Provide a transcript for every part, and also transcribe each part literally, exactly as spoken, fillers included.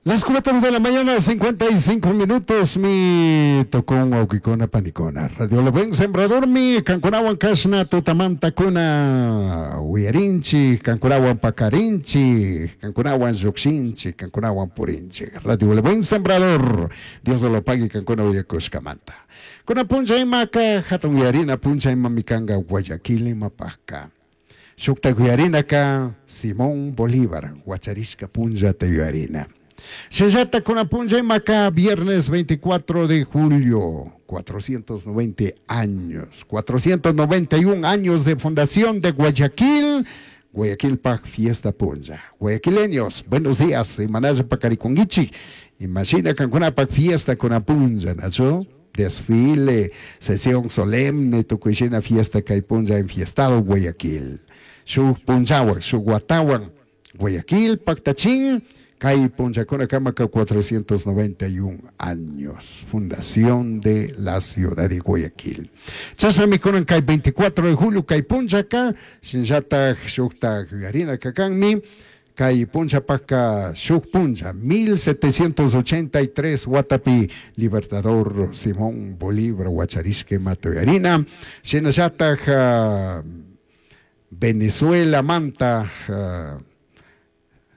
Las cuatro de la mañana, cincuenta y cinco minutos, mi tocón wawkikuna panikuna. Radio El Buen Sembrador mi kankunawan kashna tutamanta kuna uyarinchi, kankunawan pakarinchi, kankunawan llukshinchi, kankunawan purinchi. Radio El Buen Sembrador, Dios lo pague kankuna uyakushkamanta. Kuna puncha imaka, hatun uyarina puncha ima mikanga Guayaquil imapaka. Shukta uyarinaka Simón Bolívar, wacharishka punllata uyarina. Shinallata kuna punlla imaka viernes veinticuatro de julio, cuatrocientos noventa años, cuatrocientos noventa y un años de fundación de Guayaquil, Guayaquil Paj Fiesta Punlla. Guayaquileños, buenos días, imanalla pakarikunguichik, imagina kankunapaj fiesta kuna punlla, ¿nacho? Desfile, sesión solemne, tukuyshina fiesta kay punlla enfiestado Guayaquil. Shuk punllawan, shuk watawan, Guayaquil, paktachin, kay punllakuna kamaka cuatrocientos noventa y un años, fundación de la ciudad de Guayaquil. Chashnami kunan kay veinticuatro de julio kay punllaka, shinallatak shuktak yuyarina kakanmi, kay punllapaka shuk punlla, mil setecientos ochenta y tres watapi Libertador Simón Bolívar wacharishka imata yuyarina, shinallatak uh, Venezuela manta uh,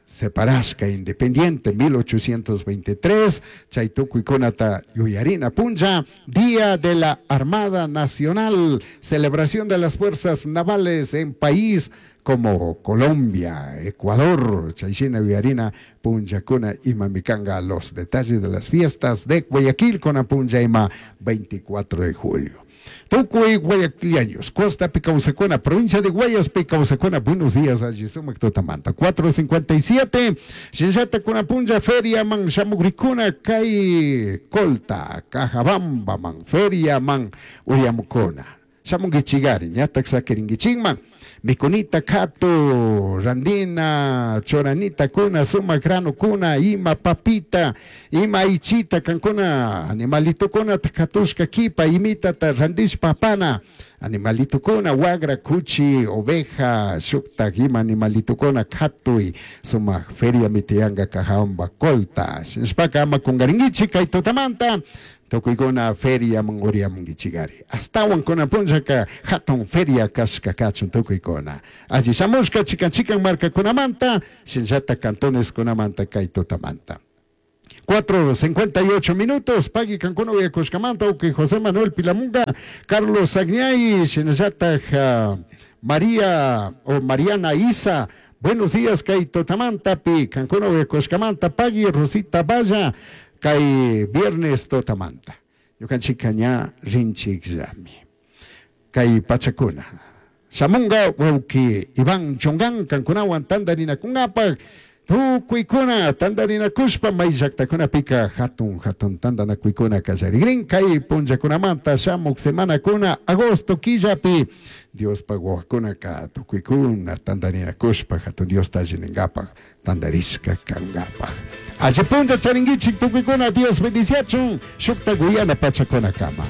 separashka independiente mil ochocientos veintitrés, chay tukuykunata yuyarina punlla, Día de la Armada Nacional, celebración de las fuerzas navales en país como Colombia, Ecuador, chayshina yuyarina punllakuna imamikanga los detalles de las fiestas de Guayaquil con punlla ima veinticuatro de julio. Tukuy guayaquileños, Costa kawsajkuna, provincia de Guayas kawsajkuna, buenos días, alli sumak tutamanta. cuatro cincuenta y siete, Shinllata kuna punlla feria man shamugrikuna kay Colta, Cajabamba man, feria man uyamukuna. Shamunguichigari, ñatak sakiringuichikman. Mikunita katu, randina, choranita kuna, suma grano kuna, ima papita, ima ichita kankuna, animalito kuna katushka kipa, imita ta randishpa pana, animalito kuna, wagra, kuchi, oveja, shukta, ima animalito kuna, katui, suma feria mitianga Cajabamba Colta, shinashpaka ama kungaringuichi kay tutamanta, tukuykuna feria man uriamunguichigari. Astawan kuna punllaka hatun feria kashka kachun tukuykuna. Alli shamushka chikan chikan markakunamanta, shinallata cantones kunamanta kay tutamanta. cuatro cincuenta y ocho minutos, pagui kankuna uyakushkamanta, uki José Manuel Pilamunga, Carlos Agñay, shinallata uh, María o Mariana Isa, buenos días kay tutamanta, pi kankuna uyakushkamanta, pagui Rosita Valla, kay viernes tutamanta. Ñukanchika ña rinchikllami. Kay pachakuna. Shamunga wawki Iván Chongan kankunawan tandarinakunapaq tukuykuna tandarinakushpa may llaktakunapika hatun hatun tandanakuykuna kallarigrin kay punllakunamanta shamuk semanakuna agosto killapi Diospaq wawakunaka tukuykuna tandarinakushpa hatun Diosta allininkapak tandarishka kankapak. Alli punlla charinkichik tukuykuna, Dios bendiciachun, shukta guyana pachakunakama.